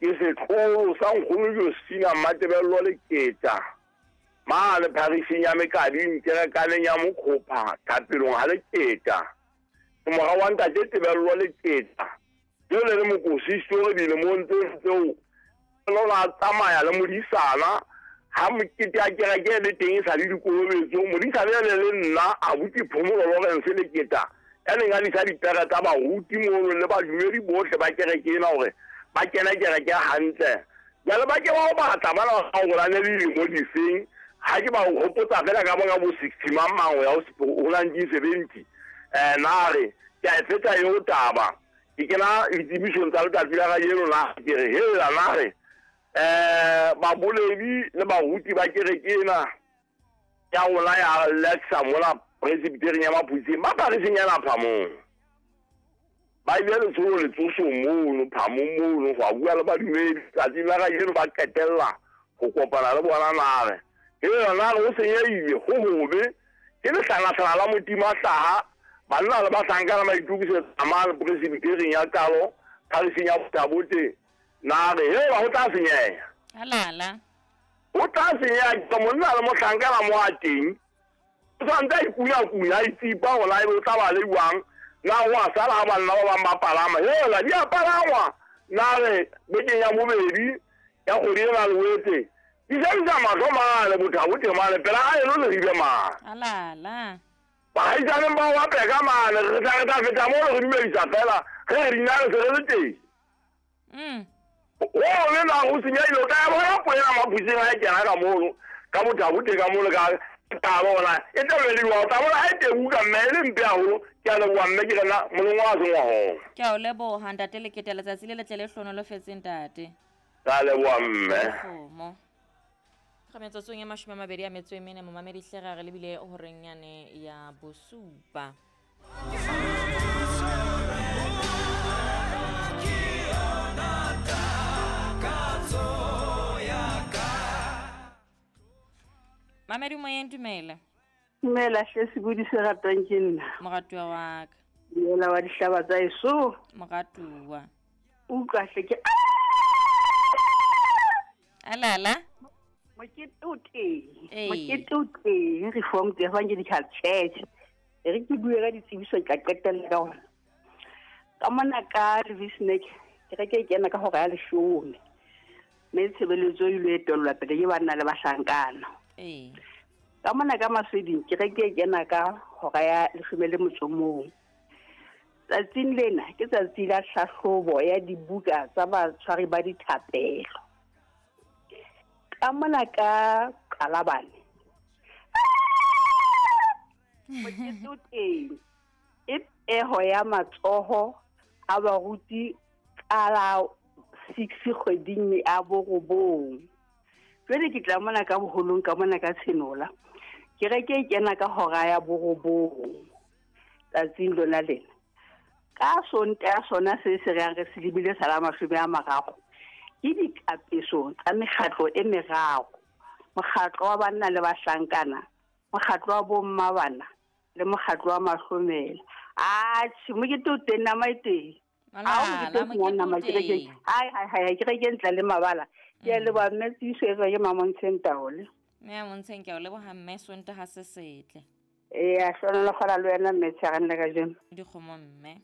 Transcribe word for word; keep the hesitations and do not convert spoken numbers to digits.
Ke setlolo sa nkgono Josina Matebello Leketa mane pharising ya Mekading kerekaneng ya Mokgopha thapelong ha Leketa. Ke mora wa ntate Tebello Leketa jele le mokosisi o dilemong tseo tseo lona tsamaya le modisana ha mokete ya kereke le teng e sa le dikolobetso. Modisana le le nna abuti Phomolo Lawrence Leketa ya neng a disa dipere tsa baruti mono le badumedi bohle ba kereke ena hore ba kena kereke hantle. Jwale ba ke ba o batla bana ba o le dilemo difeng ha ke ba o hopotsa fela ka bona bo sixty mang mang ho ya ho nineteen seventy. Eh na re ke a e fetsa eo taba ke kena ditsebišong tsa letsatsi la kajeno na ke re hela na re eh baboledi le baruti ba kereke ena ya rona ya Lexa mola presbyterian ya Maphutseng ba phariseng yana Phamong. Ba ile letsholo letsoso mono Phamong mono go a bua le badumedi tsatsing la kajeno ba qetella ho kopana le bona na re hela na re ho senyehile ho hobe ke lehlanahlana la Modimo a hlaha banna le bahlankana ba itokisetsa mane presbyterian ya Qalo phariseng ya Botabote na re hela ho tla senyeha. Halala ho tla senyeha ke monna le mohlankana mo a teng o santse a ikunya-kunya a itsipa hore ebe o tla ba le jwang na ho a sala ha banna ba bang ba palama hela di a palangwa na re bekeng ya bobedi ya kgwedi ena Loetse di sebedisa mahlo mane Bothabote mane pela ha eno le rile mane. Halala baahisaneng ba wa peka mane re tla re tla feta mono re dumedisa fela ge re dinale se re le teng. Mm. O le na ho senyehile o tla ya bona poena Maphutseng ha e kena ka mono ka Bothabote ka mono ka taba e tla beliwa o tla bona ha e tebuka mme e le mpe haholo. Ke a leboha mme ke rena molong wa sengwa hona. Ke a o leboha ntate Leketa letsatsi le letle le hlonolofetseng ntate. Ke a leboha mme. Kgomo. Ga metsotsong e mashome a mabedi a metso e mene momamedi hle re lebile horeng yane ya bosupa. Mamedi moyeng dumela. Dumela hle sebodi se ratwang ke nna. Moratuwa wa ka. Dumela wa dihlaba tsa eso. Moratuwa. Utlwa hle ke Alala. Mokete o teng. Mokete o teng Reformed Evangelical Church. E re ke bue ka ditsebiso tla qetella ka hona. Ka mona ka Levisnek kereke e kena ka hora ya leshome. Mme tshebeletso e ile etellwa pele ke banna le bahlankana. Ee. Ka mona ka Masweding kereke e kena ka hora ya leshome le motso mong. Tsatsing lena ke tsatsi la hlahlobo ya dibuka tsa batshwari ba dithapelo. Ka mona ka Qalabane mokete o teng e peho ya matsoho a baruti ka la six kgweding ya borobong. Jwale ke tla mona ka boholong ka mona ka Tshenola kereke e kena ka hora ya borobong tsatsing lona lena. Ka Sontaha sona se se reng re se lebile sa la mashome a mararo ke dikapeso tsa mekgatlo e meraro. Mokgatlo wa banna le bahlankana, mokgatlo wa bomma bana le mokgatlo wa mahlomela. Atjhe mokete o teng nama e teng. Malala mokete o teng. Hai hai hai kereke ntle le mabala. Ke a leboha mme tsebiso e tswa ke Mamontsheng Taole. Mme Mamontsheng ke a o leboha mme Sontaha se setle. Ee, a hlonolofala le wena mme tshegang le kajeno. Dikgomo mme.